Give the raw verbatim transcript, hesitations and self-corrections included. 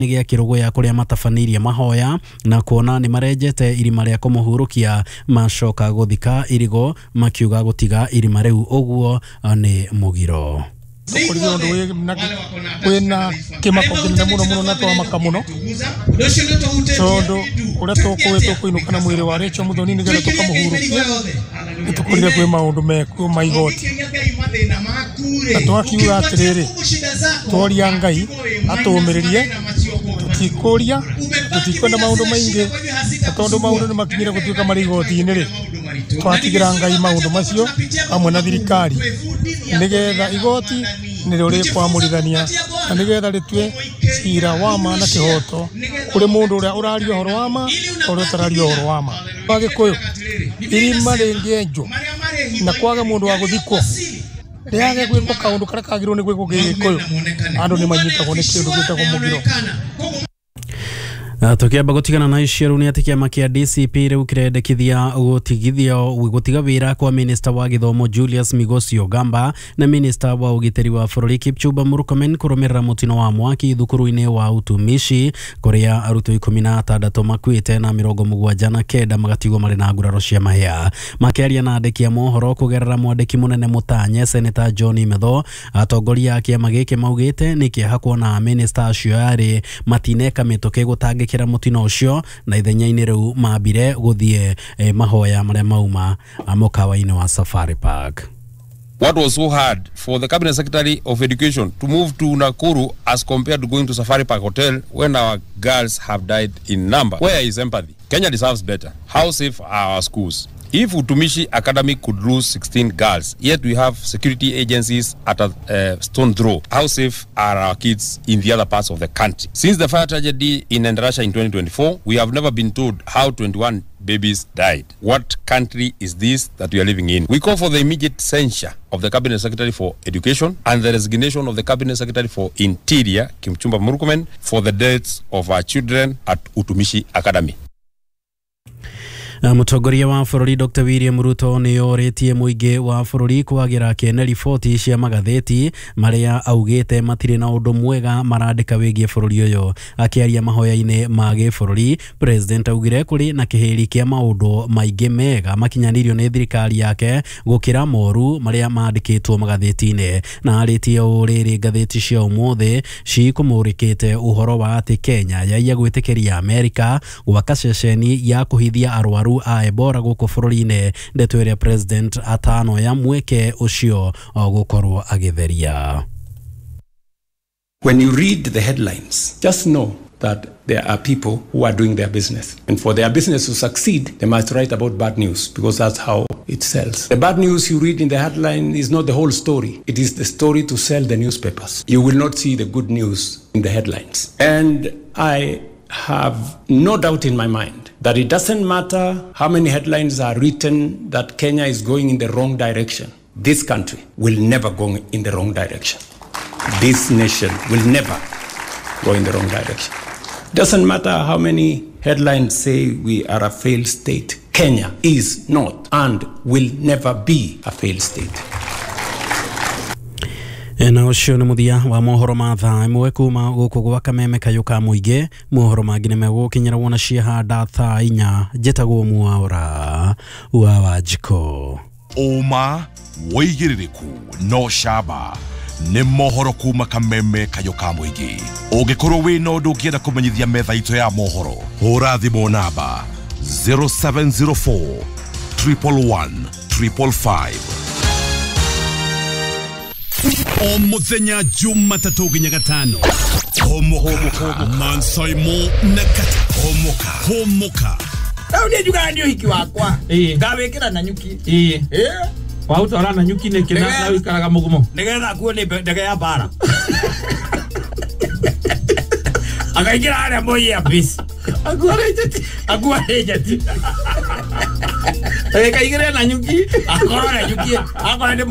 Gĩa Kĩrũgũya kũrĩa matabanĩirie mahoya na kuona nĩ marenjete irima rĩa kũmũhurũkia macoka gũthika irigo makiuga gũtiga irima rĩu ũguo nĩ mũgiro. Tũkorire ũndũ wĩna kĩmako kĩnene mũno mũno na twamaka mũno tondũ ũrĩa tũkũĩ tũkũinũka na mwĩrĩ wa Rachel Muthoni nĩgetha tũkamũhurũkia nĩ tũkorire kwĩ maũndũ mekuo ma igoti na twakiuga atĩrĩrĩ tworia Ngai atũũmĩrĩrie tũtikũria tũtikwenda maũndũ maingĩ na tondũ maũndũ nĩ makinyire gũtuĩka marĩ igoti-inĩ rĩ twatigĩra Ngai maũndũ macio hamwe na thirikari nĩgetha igoti nĩrĩo rĩkwamũrithania na nĩgetha rĩtue cira wa ma na kĩhoto kũrĩ mũndũ ũrĩa ũraria ũhoro wa ma na ũrĩa ũtararia ũhoro wa ma. Wa Gĩkũyũ irima rĩngĩenjwo na kwaga mũndũ wa gũthikwo rĩage gwĩkwo kaũndũ karĩa kagĩrĩirwo nĩ gwĩkwo gĩgĩkũyũ andũ nĩ manyitagwo nĩ kĩndũ gĩtagwo mũgiro. Tukiamba gutigana na icio rĩu nĩ atĩ kĩama kĩa D C P rĩu kĩrendekithia gũtigithio gũtiga wĩra kwa minista wa gĩthomo Julius Migos Ogamba na minista wa ũgitĩri wa bũrũri Kipchumba Murkomen kũrũmĩrĩra mũtino wa mwaki thukuru-inĩ wa Utumishi kũrĩa arutwo ikũmi na atandatũ makuĩte na mĩrongo mũgwanja na kenda magatigwo marĩ na nguraro cia mahĩa. Makĩaria na andĩki a mohoro kũgerera mwandĩki mũnene mũtanye Seneta John Metho, atongoria a kĩama gĩkĩ maugĩte nĩ kĩeha kuona minista acio erĩ matineka mĩtũkĩ gũtangĩkĩra mũtino ũcio na ithenya-inĩ rĩu mambire gũthiĩ eh, mahoya marĩa mauma mũkawa-inĩ wa Safari Park. What was so hard for the Cabinet Secretary of Education to move to Nakuru as compared to going to Safari Park Hotel when our girls have died in number? Where is empathy? Kenya deserves better. How safe are our schools? If Utumishi Academy could lose sixteen girls, yet we have security agencies at a uh, stone throw, how safe are our kids in the other parts of the country? Since the fire tragedy in Endarasha in twenty twenty-four, we have never been told how twenty-one babies died. What country is this that we are living in? We call for the immediate censure of the Cabinet Secretary for Education and the resignation of the Cabinet Secretary for Interior, Kipchumba Murkomen, for the deaths of our children at Utumishi Academy. Mũtongoria wa bũrũri Doctor William Ruto nĩ orĩtie mũingĩ wa bũrũri kwagĩra kĩene riboti cia magathĩti marĩa augĩte matirĩ na ũndũ mwega marandĩka wĩgiĩ bũrũri ũyũ. Akĩaria mahoya-inĩ ma gĩbũrũri, President augire kũrĩ na kĩhĩri kĩa maũndũ maingĩ mega makinyanĩirio nĩ thirikari yake gũkĩra moru marĩa mandĩkĩtwo magathĩti-inĩ, na arĩtie ũũ rĩrĩ ngathĩti cia ũmũthĩ cikũmũrĩkĩte ũhoro wa atĩ Kenya yaiya gwĩtĩkĩria Amerika gwaka ceceni ya kũhithia arwaru a Ebola gũkũ bũrũri-inĩ, ndeto ĩrĩa President atano ya mweke ũcio gũkorwo agĩtheria. When you read the headlines, just know that there are people who are doing their business. And for their business to succeed, they must write about bad news because that's how it sells. The bad news you read in the headline is not the whole story. It is the story to sell the newspapers. You will not see the good news in the headlines. And I have no doubt in my mind that it doesn't matter how many headlines are written that Kenya is going in the wrong direction. This country will never go in the wrong direction. This nation will never go in the wrong direction. Doesn't matter how many headlines say we are a failed state. Kenya is not and will never be a failed state. Na ũcio nĩ mũthia wa mohoro ma thaa ĩmwe kuma gũkũ gwa Kameme kayũ ka mũingĩ. Mohoro mangĩ nĩ megũkinyĩra wona ciahanda thaa inya. Njĩtagwo Mwaura wa Wanjikũ. Ũma wĩigĩrĩrĩku no camba nĩ mohoro kuma Kameme kayũ ka mũingĩ. Ũngĩkorwo wĩna ũndũ ũngĩenda kũmenyithia metha itũ ya mohoro, hũra thimũ namba zero seven zero four triple one triple five. O muthenya Jumatatũ nginya Gatano. Homoka Mansaimo na Kata. Homoka Homoka. Rĩu niĩ njugaga nĩ ũhiki wakwa. Ngawĩkĩra na nyuki. Ĩĩ. Waũtwara na nyuki nĩkĩ na ũikaraga mũgumo? Nĩgetha akuo nĩ ndege ya mbara. Akaingĩra harĩa Moi Air Base. Akuo nĩ njeti. Akuo nĩ njeti. Akaingĩra na nyuki. Akorwo na nyuki. Akorwo nĩ